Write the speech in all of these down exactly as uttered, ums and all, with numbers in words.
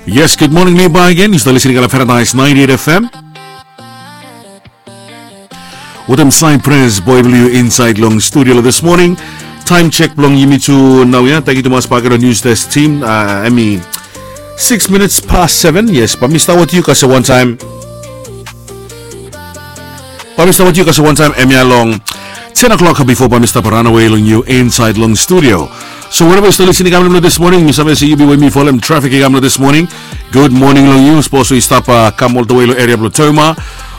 Yes, good morning, Levi again. Yu stap listening long Paradise ninety-eight F M. Wetem Cypress Boy blong yu inside long studio lo this morning. Time check blong yumi tu naoia. Tangkiu tumas bakegen lo News Desk team. Uh, hemi six minutes past seven. Yes, bae mi stap wetem yu kasem wantaem. Bae mi stap wetem yu kasem wantaem hemia long ten o'clock bifo bae mi stap ranawe long yu inside long studio. So wherever yu stap listening i kam long this morning, mi save se yu bin we mi folem trafik i kam long this morning. Good morning long yu. Sapos yu stap uh, kam oltawe long eria blong Toma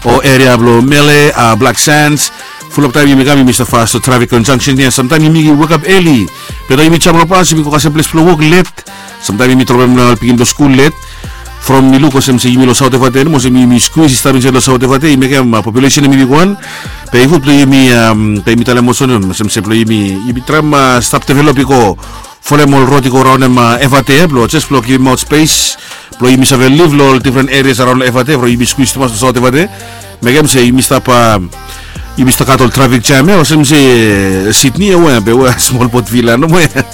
o eria blong Mele, uh, Black Sands. Fulap taem yumi kam yumi stap fas long trafik conjunction ia. Samtaem yumi wake up early. Be taem yumi jam long bas yumi go kasem ples blong wok let. Samtaem yumi dropem long ol pikinini blong skul let. From mi luk olsem se yumi long South Efate nomo olsem yumi squeeze i stap insaed long South Efate i mekem uh, population hemi bigwan. Be i gud blong yumi um, be yumi talem olsem olsem se blong yumi yumi traem uh, stap develop i go folem ol rod i go raonem uh, Efate blong jes blong givimaot spes blong yumi save liv long ol different areas araon long Efate from yumi squeeze tumas long South Efate. Mekem se yumi stap uh, yumi stap gat ol trafik jam ia olsem se Sydney ia we be we smol Port Vila nomo ia.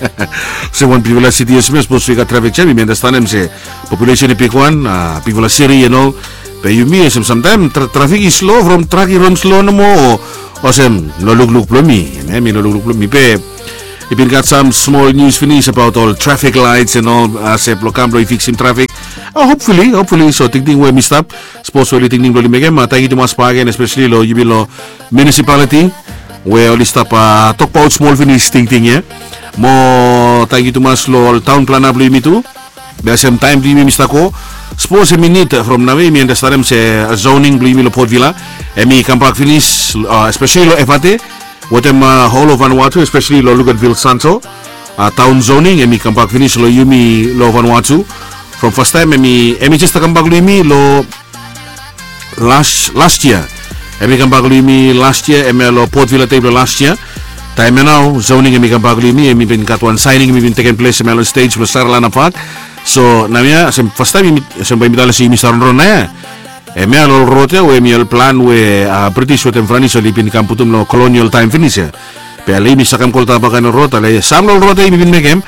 Se wan bigfala city ia smes sapos we i gat trafik jam yumi andastanem se population i bigwan, uh, bigfala city and all. Be yumi olsem samtaem tra- trafik i slow from truck i ran slow nomo o olsem lo lukluk blong mi. Em i lo lukluk blong mi be i bin gat sam smol news finis abaot ol trafik lights and all, uh, se blong kam blong i fiksim trafik. Uh, hopefully hopefully so tingting we mi stap sapos we oli tingting blong oli mekem uh, tangkiu tumas bakegen especially lo yumi lo municipality we oli stap uh, tokbaot smol finis tingting ia. Mo tangkiu tumas lo ol taon plana blong yumi tu. Be olsem taem blong yumi mi stap go sapos hemi nid from naoia yumi andastanem se zoning blong yumi long Port Vila hemi kambak finis, uh, especially long Efate wetem uh, holo Vanuatu especially long Luganville Santo. Uh, taon zoning hemi kambak finis long yumi long Vanuatu from fastaem hemi hemi jes stap kambak long yumi long last last year. Hemi kambak long yumi last year hemia long Port Vila dei blong last year. Taem ia nao zoning hemi kambak long yumi hemi bin gat wan saening hemi bin tekem ples hemia long stej blong Saralana Park. So naoia olsem fastaem olsem bae yumi talem se yumi save ronron naoia. Hemia long ol rod ia we hemi ol plan we uh, British wetem Franis oli bin kam putum long kolonial taem finis ia. Be ale yumi sakem kolta bakaen ol rod ale sam long ol rod ia yumi bin mekem.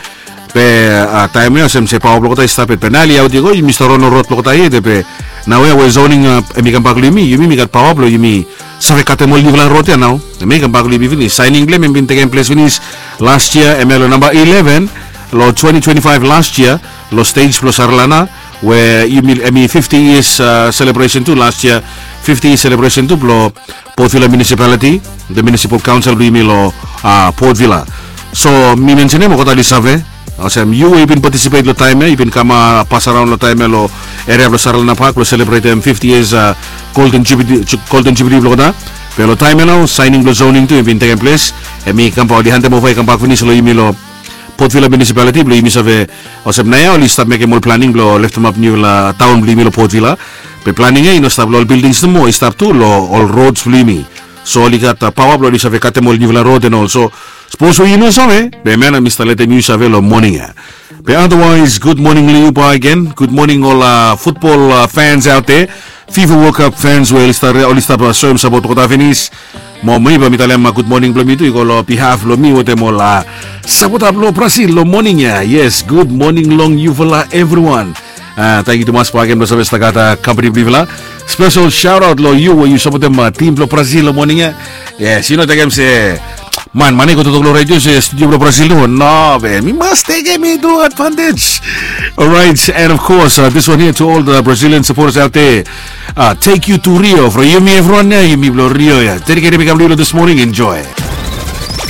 Be uh, taem ia olsem se paoa blong olgeta i stap yet be nao oli aot i go yumi stap ron ol rod blong olgeta yet be naoia we zoning uh, hemi kambak long yumi yumi mi gat paoa blong yumi save katem ol niufala rod ia nao. Hemi kambak long yumi finis saening blong hem hemi bin tekem ples finis last year hemia long namba eleven long twenty twenty-five last year long stej blong Saralana we yumi hemi fifty years uh, celebration tu last year fifty years celebration tu blong Port Vila Municipality, the Municipal Council blong yumi long uh, Port Vila. So mi mensenem olgeta oli save olsem yu we yu bin patisipet long taem ia yu bin kam uh, pas araon long taem ia long eria blong Saralana Park blong selebretem fifty years uh, golden jubilee, ju- golden jubilee blong olgeta. Be long taem ia nao saening blong zoning tu hemi bin tekem ples. Hemi kambak oli handem ova i kambak finis long yumi long Port Vila Municipality blong yumi save olsem naoia oli stap mekem ol planing blong leftemap niufala taon blong yumi long Port Vila. Be planing ia i no stap long ol bildings nomo i stap tu long ol rods blong yumi. So oli gat uh, paoa blong oli save katem ol niufala rod and all so sapos we yu no save be hemia nao mi stap letem yu save long moning ia. Be otherwise good morning long yu bakegen good morning ol uh, futbol uh, fans out there. Fifa World Cup fans we oli stap uh, soem sapot olgeta finis. Mo mi bae mi talem uh, good morning blong mi tu i go long behalf blong mi wetem ol uh, sapota blong Brazil long moning ia. Yes, good morning long yufala evriwan. Uh, tangkiu tumas bakegen blong save stap gat uh, kampani blong yufala. Spesel shaotaot long yu we yu sapotem uh, tim blong Brazil long moning ia. Yes, yu no tekem se man man i go toktok long redio se studio blong Brazil nomo no be mi mas tekem i tu advantage. Alright, and of course uh, this one here to all the Brazilian supporters out there. Uh, take you to Rio from yumi evriwan ia yumi blong Rio ia. Dediketem i kam long yu long this morning enjoy.